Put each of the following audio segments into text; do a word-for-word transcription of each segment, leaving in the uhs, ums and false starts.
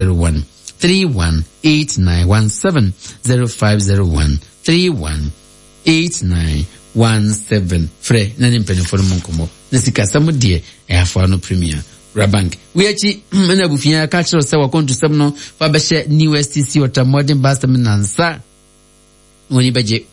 zero one three one eight nine one seven zero five zero one three one eight nine one seven. Frɛ na ne mpanimfoɔ no mu nkɔmmɔ na sikasɛm deɛ ɛyɛ afoa no Premier Wura Bank. Wei akyi ɛna abusua ka kyerɛ sɛ wakɔntusɛm no fa bɛhyɛ New S T C Ultramodern Bus Terminal nsa na wɔn ani bɛgye,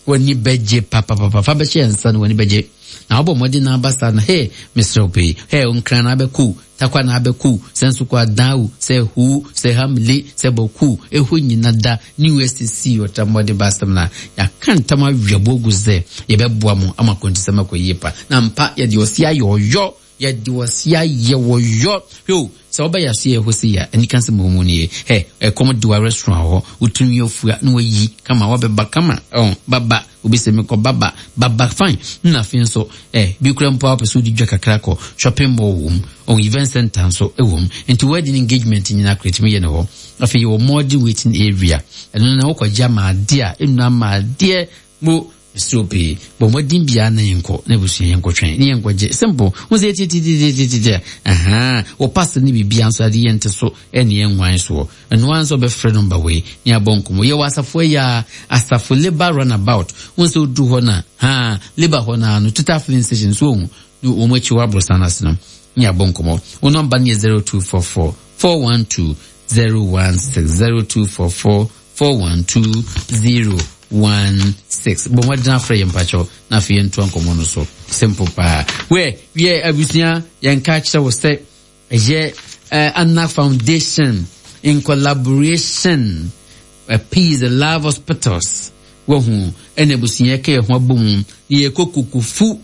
wɔn ani bɛgye papapapa. Fa bɛhyɛ nsa na wɔn ani bɛgye na wɔbɔ mmɔden na aba saa no. Hey, mesrɛ wo pii. Hey, Nkran na abɛku, Takwa na abɛku, sɛ nso kɔ adan sɛ hu sɛ Hamile sɛ Bɔku ɛhɔ nyina da New S T C Ultramodern Bus Terminal. Yɛaka ntam awiaboɔ gu sɛ yɛbɛboa mo ama akɔntusɛm akɔ yie pa na mpa yɛde ɔsi ayɛ ɔyɔ, yɛde ɔsi ayɛ wɔyɔ. Hwɛ o, sɛ wobɛyɛ aso yɛ hɔ si yɛ anika sɛ mɔmu nie. Hɛ, ɛkɔm de wa, restaurant hɔ wotumi afua na wayi kama wabɛba kama ɔn baba obi sɛ mekɔ baba baba fine. Na afei nso ɛ bi kura mpo a wopɛ sɛ wodi dwa kakra kɔ shopping mall wɔ mu ɔn event center nso wɔ mu, nti wedding, engagement nyinaa kora tumi yɛ ne hɔ. Afei yɛwɔ modern waiting area, ɛno na wokɔgye ama adeɛ a ɛnnu ama adeɛ mo mesrɛ pii. Bɔ mmɔden biara na yɛnkɔ na abusua yɛnkɔtwɛn ne yɛnkɔgye simple wo sɛ tiatitiatitiatia aha wɔ pastor ne biribia nso ade yɛnte so ɛne yɛnwan soɔ. Ɛno ara nso ɔbɛfrɛ number wei ne abɔ nkɔmmɔ. Yɛwɔ asafo yi a Asafo Labour Runabout wo sɛ woduru hɔ no ha Labour hɔ no no Total Filling Station so ohu ne wɔn akyi hɔ aborosan no ase no ne abɔ nkɔmmɔ. Wo number no yɛ zero two four four four one two zero one six, zero two four four four one two zero one six. Bɔn wɔgyina afrɛ yɛn mpakyɛw na afei yɛntoa nkɔmmɔ no so simple paa. Wɛ wiɛ abusua, yɛnka kyerɛ wo sɛ ɛyɛ uh, Anna Foundation in collaboration uh, Peace and Love Hospitals wahu ɛna abusua yɛka yɛn ho abɔ mu na yɛkɔ Kokofu.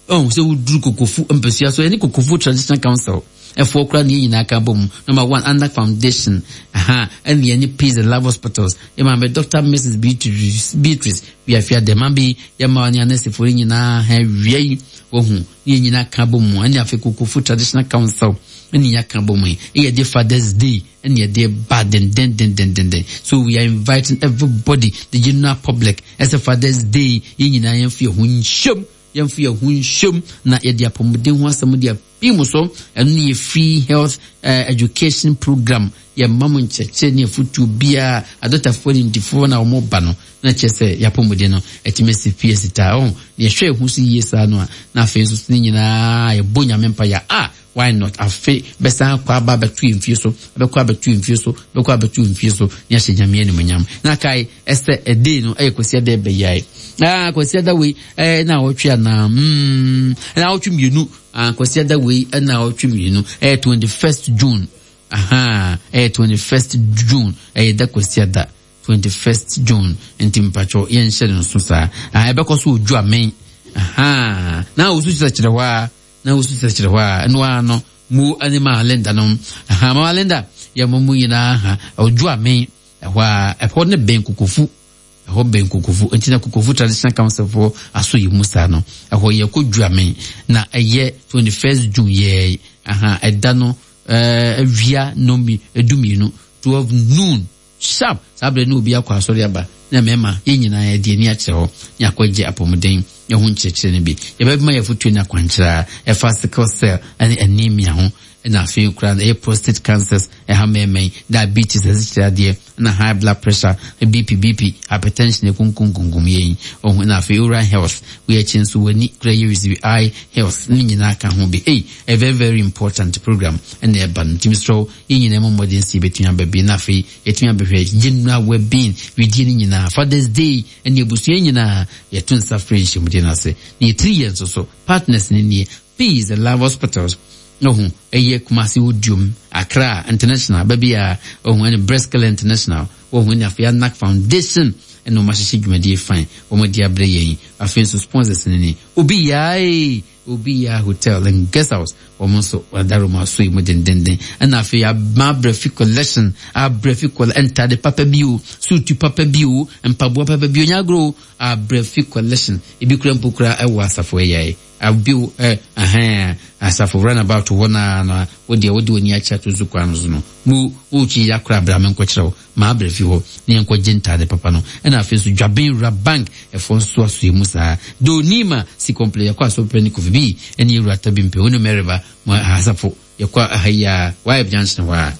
Ɔhu sɛ woduru Kokofu mpasua so, ɛne Kokofu Traditional Council ɛfoɔ koraa ne yɛn nyinaa ka bɔ mu. Number one, Anna Foundation aha ɛne yɛne Peace and Love Hospitals, yɛma me Doctor Missus Beatrice Beatrice Wiafia dɛma bi yɛma ne anɛsifoɔ no nyinaa ha awia yi wahu ne yɛn nyinaa ka bɔ mu, ɛne afei Kokofu Traditional Council ɛne yɛaka bɔ mu yi ɛyɛ de Father's Day ɛne yɛde ba dendendendendenden. So we are inviting everybody, the general public, ɛsɛ Father's Day yɛn nyinaa yɛmfa yɛn ho nhyɛm, yɛmfa yɛn ho nhyɛm na yɛde apɔmuden ho asɛm de apii mu so. Ɛno ne yɛ free health uh, education program. Yɛma mo nkyerɛkyerɛ ne afotuo biara, adɔtafoɔ ne ntifoɔ na wɔn ba no na kyerɛ sɛ yɛapɔmuden no ɛtumi asi pie sitaa ɔn na yɛhwɛ ɛho so yie saa no a na afei nso ne nyinaa yɛbɔ Nyame mpa yɛ a, why not? Afe bɛsan akɔ aba abɛto yɛn fie so, bɛkɔ abɛto yɛn fie so, bɛkɔ abɛto yɛn fie so ne ahyɛ Nyame animuonyam. Na kae ɛsɛ ɛdei no ɛyɛ Kwasi Ada ɛbɛyae ah Kwasi Ada wei ɛɛ na awɔtwe anaa mm na awɔtwe mmienu. Ah, Kwasi Ada wei ɛna awɔtwe mmienu, ɛyɛ twenty first June. Aha, ɛyɛ twenty first June, ɛyɛ da Kwasi Ada twenty first June, nti mpatwɔ yɛnhyɛ no nso saa. Ah, ɛbɛkɔ so odwu amen. Aha, na wosu kyerɛkyerɛ hɔ a na wosu kyerɛkyerɛ hɔ a ɛno ara no mu ɛne Maa Linda no. Aha, Maa Linda yɛ mo mu nyinaa ha odwu amen ɛhɔ a ɛhɔ ne bɛn Kokofu, ɛhɔ bɛn Kokofu, nti na Kokofu Traditional Council foɔ aso yi mu saa no. Ɛhɔ yɛ kɔ Dwuamen na ɛyɛ twenty first June yɛ. Aha, ɛda no ɛɛ awia nomi edu mmienu, twelve noon sharp. Saa abirɛ no obi akɔ asɔre aba na mmarima yɛn nyinaa yɛde ani akyerɛ hɔ ne akɔgye apɔmuden ɛho nkyerɛkyerɛ no bi. Yɛbɛma yɛ fotuo ne akwankyerɛ a ɛfa sickle cell ɛne anemia ho, ɛna afei koraa no ɛyɛ prostate cancers ɛha mmarima yi, diabetes, asikyire adeɛ, ɛna high blood pressure, B P B P hypertension ekunkunkunkum yɛn ɔho, ɛna afei oral health. Wei akyi nso w'ani kura yɛ receive eye health ne nyinaa ka ho bi. Ei, a very very important program ɛna ɛba no, ntumi srɛ yɛn nyinaa mu mmɔden si yɛbɛtumi aba bi na afei yɛtumi abɛhwɛ general well-being widie no nyinaa. Father's Day ɛne abusua nyinaa yɛto nsa frɛ nhyiamudie no ase na yɛtiri yɛn nso so partners ne nie: Peace and Love Hospitals ɔho ɛyɛ Kumasi Odiom, Accra International baabi a ɔho ɛne Breast International ɔho ɛne afei Anak Foundation ɛna wɔn ahyehyɛ dwumadie fine wɔn de abrɛ yɛn. Afei nso sponsors ne ni Obi Yaa Obi Yaa Hotel and Guest House, wɔn nso wɔadaroma aso yi mu dendenden, ɛna afei ama Abrɛfi Collection, Abrɛfi Collection, ntade papa bi o, suutu papa bi o, mpaboa papa bi o, nyagoro Abrɛfi Collection ebi kura mpo kura ɛwɔ Asafo ɛyɛ abi ɛ ɛhɛn Asafo Runabout hɔ naa na wodeɛ wode w'ani akyɛ ato so kwan no so no mu wotwi yakora abrame nkɔkyerɛw maa Abrɛfi hɔ ne yɛnkɔgye ntade papa no. Ɛna afei nso Dwaben Wura Bank ɛfoɔ nso aso mu saa Donima si kɔmplɛ yɛkɔ asɔpɛ ne Kofi bi ɛne Ewura Tabi mpɛ wo ne mɛreba mo Asafo yɛkɔ aha yi a wayɛ junction hɔ a